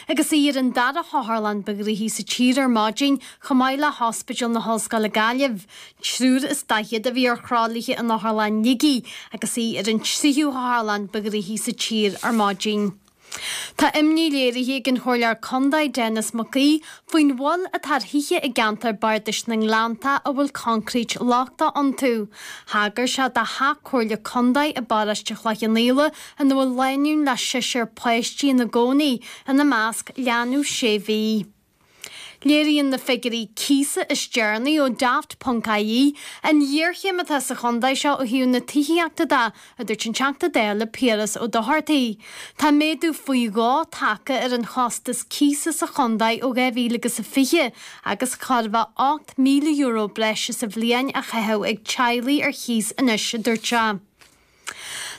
agus í ar an dara hotharlann ba ghnoithí sa tír ar maidin, chomh maith le hOspidéal na hOllscoile Gaillimh. 43 a bhí ar thralaithe in Otharlann Shligigh agus í ar an tríú hotharlann ba ghnoithí sa tír ar maidin. Tá imní léirithe ag an Chomhairleoir Contae Denis Mac Aoidh faoin bhail atá ar thithe i gceantar bardais na nGleannta a bhfuil coincréit lochtach iontu. Thagair sé do theach Comhairle Contae i bparóiste Chloich Cheann Fhaola ina bhfuil lánúin le seisear páistí ina gcónaí, ina measc leanbh sé mhí. Léiríonn na figiúirí cíosa is deireanaí ó Daft ponc ie an ghéarchéim atá sa chontae seo ó thaobh na tithíochta de, a dúirt an Teachta Dála Piaras Ó Dochartaigh. Tá méadú faoi dhó tagtha ar an chostas cíosa sa chontae ó 2020 agus chóir a bheith €8,000 breise sa bhliain á chaitheamh ag teaghlaigh ar chíos anois, a dúirt sé.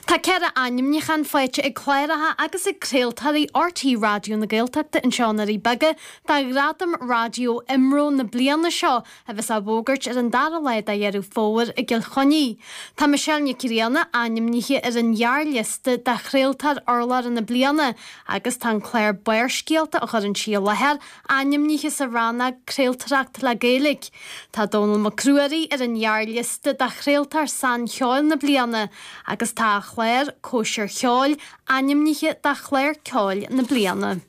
Tá 4 ainmniúchán faighte ag cláracha agus ag craoltóirí RTÉ Raidió na Gaeltachta anseo i nDoirí Beaga do Ghradam Raidió IMRO na bliana seo a bheas á bhfógairt ar an dara lá de Dheireadh Fómhair i gCill Chainnigh. Tá Michelle Nic Grianna ainmnithe ar an ghearrliosta do Chraoltóir Urlabhra na Bliana agus tá an clár Barrscéalta a chuireann sí i láthair Ainmnithe sa rannóg Craoltóireacht le Gaeilge, tá Dónall Mac Ruairí ar an ghearrliosta do Chraoltóir Saincheoil na Bliana agus tá a chlár, Cóisir Cheoil, ainmnithe do Chlár Ceoil na Bliana.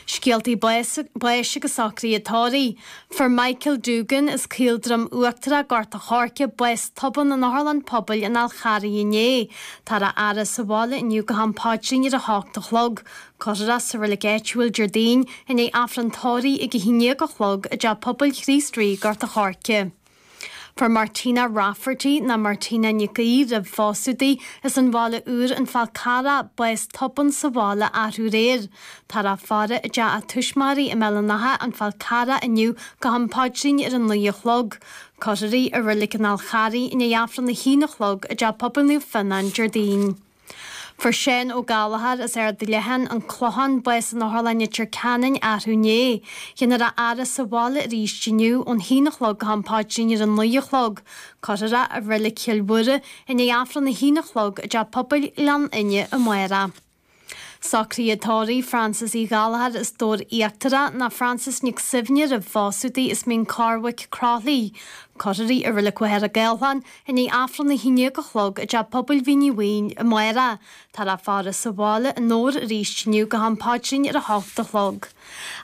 Scéaltaí báis agus socruithe tórraimh. Fuair Michael Doogan as Caoldroim Uachtarach, Gort a' Choirce, bás tobann in Otharlann Pobail an Fháil Charraigh inné. Táthar á fhaire sa bhaile inniu go ham paidrín ar a hocht a chlog. Cuirfear é sa reilig áitiúil Déardaoin i ndiaidh Aifreann tórraimh ag 11 a chlog i dTeach Pobail Chríost Rí, Gort a' Choirce. Fuair Martina Rafferty, nó Martina Nic Aoidh roimh phósadh di, as an Bhaile Úr, An Fál Carrach, bás tobann sa bhaile arú aréir. Táthar á faire i dteach a tuismitheoirí i mBéal an Átha, An Fál Carrach inniu go ham paidrín ar a 9 a chlog. Cuirfear í i reilig an Fháil Charraigh i ndiaidh Aifreann a haon a chlog i dTeach Pobail Naomh Fionnán Déardaoin. Fuair Seán Ó Gallchóir as Ard Leatháin, An Clochán, bás in Otharlann Leitir Ceanainn arú inné. Déanfar a fhaire sa bhaile arís inniu ón haon a chlog go ham paidrín ar a naoi a chlog. Cuirfear é i Reilig Chill Mhuire i ndiaidh Aifreann a haon a chlog i dTeach Pobail Ghleann Fhinne amárach. Socruithe tórraimh Frances Uí Ghallchóir as Dobhar Íochtarach ná Frances Nic Suibhne roimh phósadh di as Mín Cormhaic, Croithlí. Cuirfear í i Reilig Mhachaire Gathlán i ndiaidh Aifreann 11 a chlog i dTeach Pobail Mhín Uí Mhaoin amárach. Táthar á faire sa bhaile i nDobhar arís inniu go ham paidrín ar a hocht a chlog.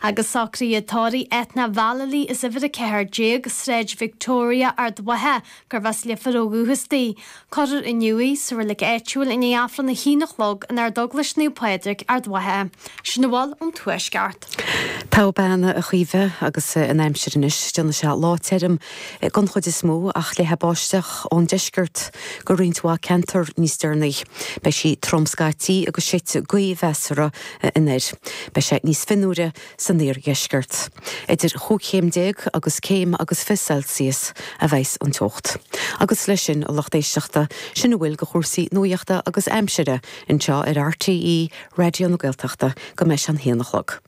Agus socruithe tórraimh Ethna Vallely as uimhir 14, Sráid Victoria, Ard Mhacha, gurbh as Leifear ó dhúchas di. Cuirfear inniu í sa reilig áitiúil i ndiaidh Aifreann a haon a chlog in Ardeaglais Naomh Pádraig, Ard Mhacha. Sin a bhfuil ón Tuaisceart. Togha bean a Chaoimhe agus an aimsir anois, déanfaidh sé lá tirim den chuid is mó ach léifidh báisteach ón deisceart go roinnt mhaith ceantar níos deireanaí. Beidh sí trom scaití agus séidfidh gaoth mheasartha anoir. Beidh sé níos fionnuaire san iardheisceart. Idir chúig chéim déag agus céim agus 20 Celsius a bheas an teocht. Agus leis sin, a lucht éisteachta, sin a bhfuil de chúrsaí nuachta agus aimsire anseo ar RTÉ Raidió na Gaeltachta go mbeidh sé an haon a chlog.